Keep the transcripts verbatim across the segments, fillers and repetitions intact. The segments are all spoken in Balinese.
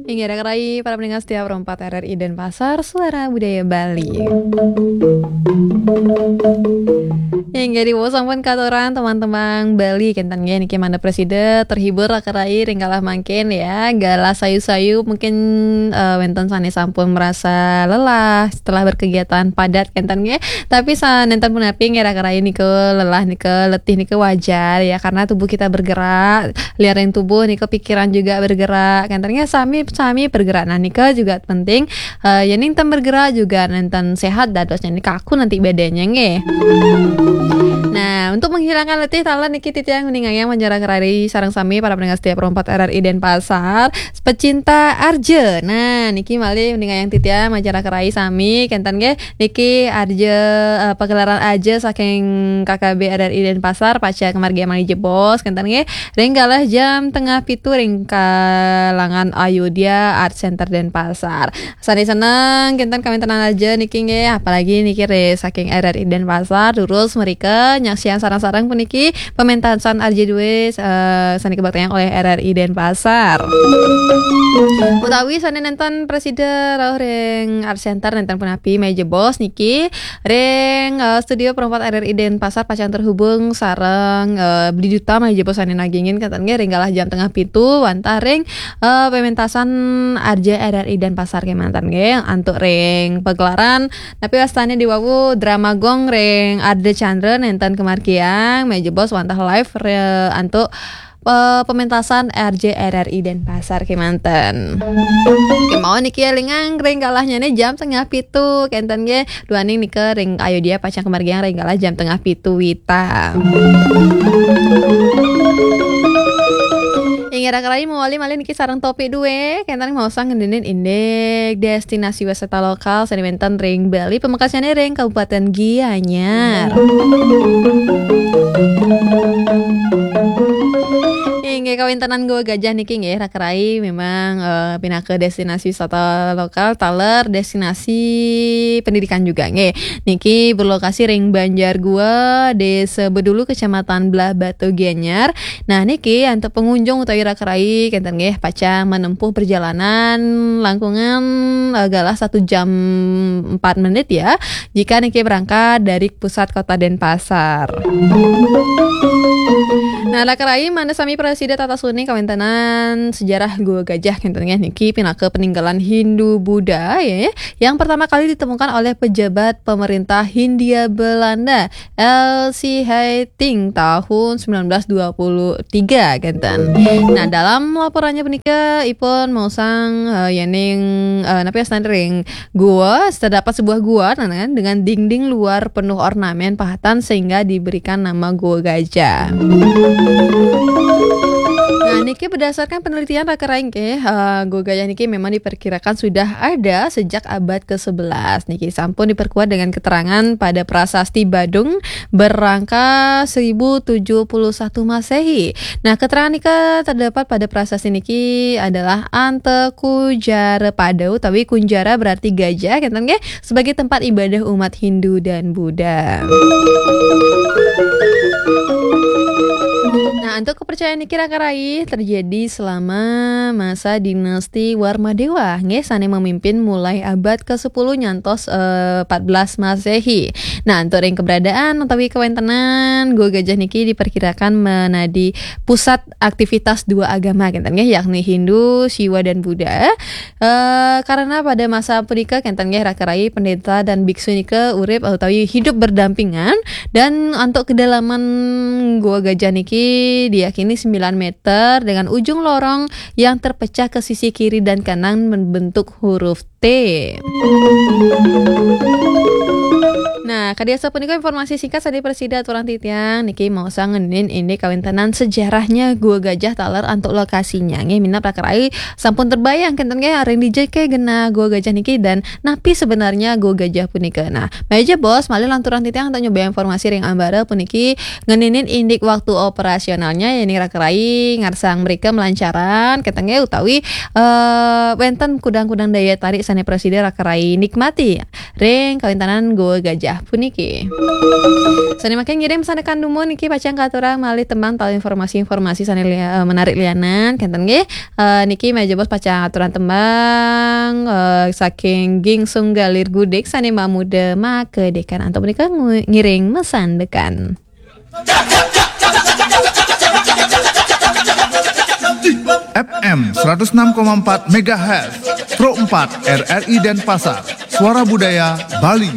Inggih, raka rayi para pendengar setia Pro empat R R I Denpasar, Suara Budaya Bali. Inggih, diwaos sampun katuran tembang-tembang Bali, kenten nggih, niki mangda prasida terhibur raka rayi ring galah mangkin ya. Galah sayu-sayu mungkin, eh, wenten sane sampun merasa lelah setelah berkegiatan padat, kenten nggih. Tapi sa-, nenten punapi nggih raka rayi nika lelah nika, letih nika wajar ya, karena tubuh kita bergerak, liaring tubuh nika pikiran juga bergerak, kenten nggih, sami-sami bergerak. Nah, nika juga penting, eh, yening ten bergerak juga nenten sehat dadosnya nika, aku nanti bedanya nggih. Nah, untuk menghilangkan letih taler niki titiang uning ayang manjang raka rayi sareng sami para pendengar setia Pro empat R R I Denpasar, pecinta arja. Nah, niki malih uning ayang titiang manjang raka rayi sami, kenten nggih. Niki arja, eh, pagelaran arja saking K K B R R I Denpasar, pacang kamargiang malih jebos, kenten nggih. Ring galah jam tengah pitu ring kalangan Ayodhya Art Center Denpasar. Sane seneng kenten kawentenan arja niki nggih, apalagi niki ring saking R R I Denpasar, durus mrika nyaksiang sareng-sareng puniki pementasan arja duwe, eh, sane kabaktayang oleh R R I Denpasar. Utawi sane nenten prasida rauh ring Art Center nenten punapi malih jebos niki ring, eh, studio Pro empat R R I Denpasar pacang terhubung sareng, eh, Bli Duta malih jebos sane nagingin kenten nggih ring galah jam tengah pitu wantah ring, eh, pementasan arja R R I Denpasar kemanten nggih. Antuk ring pagelaran napi wastane diwawu drama gong ring Ardha Candra nenten kamargiang malih jebos wantah live re-, antuk, eh, pementasan arja R R I Denpasar kemanten. Kemawon niki elingang ring galahnyane jam tengah pitu, kenten nggih. Duaning nika ring Ayodhya pacang kamargiang ring galah jam tengah pitu wita. Inggih raka rayi mawali malih niki sareng topik duwe, kenten maosang ngeninin indik destinasi wisata lokal sane wenten ring Bali, pamekasnyane ring Kabupaten Gianyar. Inggih, kawentenan Goa Gajah niki nggih raka rayi memang, eh, pinaka destinasi wisata lokal taler destinasi pendidikan juga nggih. Niki berlokasi ring Banjar Goa, Desa Bedulu, Kecamatan Blahbatuh, Gianyar. Nah, niki antuk pengunjung utawi raka rayi kenten nggih pacang menempuh perjalanan langkungan, eh, galah satu jam empat menit ya, jika niki berangkat dari pusat kota Denpasar. Nah, raka rayi mangda sami prasida tatas uning kawentenan sejarah Goa Gajah kenten nggih, niki pinaka peninggalan Hindu Buddha ya, yang pertama kali ditemukan oleh pejabat pemerintah Hindia Belanda, L C Heiting, tahun sembilan belas dua puluh tiga kenten. Nah, dalam laporannya punika ipun maosang, eh, yening, eh, napi wastane ring gua, terdapat sebuah gua, nah, kan, dengan dinding luar penuh ornamen pahatan sehingga diberikan nama Gua Gajah. Nah, niki berdasarkan penelitian raka rayi nggih, eh, Gua Gajah niki memang diperkirakan sudah ada sejak abad ke sebelas. Niki sampun diperkuat dengan keterangan pada prasasti Badung berangka seribu tujuh puluh satu Masehi. Nah, keterangan nika terdapat pada prasasti niki adalah Anta Kujara Pada utawi Kunjara berarti gajah, kenten nggih, sebagai tempat ibadah umat Hindu dan Buddha. Nah, antuk kepercayaan niki raka rayi terjadi selama masa dinasti Warmadewa, nggih, sane memimpin mulai abad kesepuluh nyantos, eh, empat belas Masehi. Nah, antuk ring keberadaan utawi kawentenan Gua Gajah niki diperkirakan menadi pusat aktivitas dua agama, kenten nggih, yakni Hindu, Siwa dan Buddha. Eh, karena pada masa punika kenten nggih raka rayi pendeta dan biksu nika urip utawi hidup berdampingan, dan antuk kedalaman Gua Gajah niki diyakini sembilan meter dengan ujung lorong yang terpecah ke sisi kiri dan kanan membentuk huruf T. Nah, kadi asapunika informasi singkat sane prasida aturang titiang niki maosang ngeninin indik kawentenan sejarahnya Gua Gajah taler antuk lokasinya. Nggih, minab raka rayi sampun terbayang kenten nggih ring dija ke genah Gua Gajah niki dan napi sebenarnya Gua Gajah punika. Nah, malih jebos malih lanturang titiang antuk nyoba informasi ring ambara puniki ngeninin indik waktu operasionalnya, yening raka rayi ngarsang mrika melancaran kenten nggih utawi, eh, wenten kudang-kudang daya tarik sane prasida raka rayi nikmati ring kawentenan Gua Gajah. Puniki. Sané mangkin ngiring sandekan dumun niki pacang katurang malih tembang tawi informasi-informasi sané lia-, eh, menarik lianan, kénten nggih. Eh, niki méh jebos pacang aturang tembang, eh, saking Gingsung Galir Gudik sané mamuda makedekan. Antuk punika ngu-, ngiring masandekan. F M seratus enam koma empat megahertz, Pro empat R R I Denpasar, Suara Budaya Bali.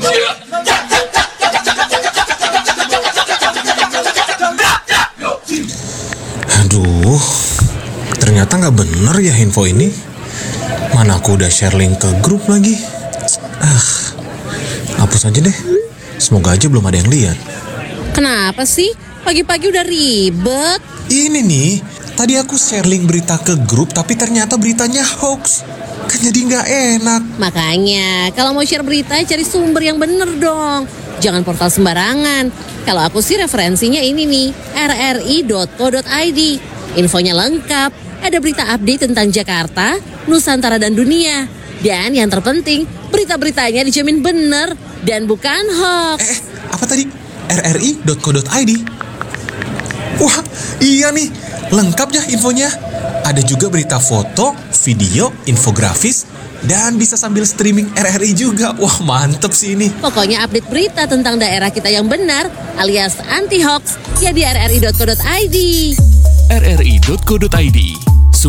Aduh, ternyata nggak bener ya info ini. Mana aku udah share link ke grup lagi. Ah, hapus aja deh. Semoga aja belum ada yang lihat. Kenapa sih? Pagi-pagi udah ribet. Ini nih, tadi aku share link berita ke grup tapi ternyata beritanya hoax. Kan jadi nggak enak. Makanya, kalau mau share berita, cari sumber yang bener dong. Jangan portal sembarangan. Kalau aku sih referensinya ini nih, R R I dot co dot I D. Infonya lengkap, ada berita update tentang Jakarta, Nusantara dan dunia. Dan yang terpenting, berita-beritanya dijamin bener dan bukan hoax. Eh, apa tadi? R R I dot co dot I D. Wah, iya nih, lengkap ya infonya. Ada juga berita foto, video, infografis, dan bisa sambil streaming R R I juga. Wah, mantep sih ini. Pokoknya update berita tentang daerah kita yang benar alias anti hoax ya di R R I dot co dot I D. R R I dot co dot I D.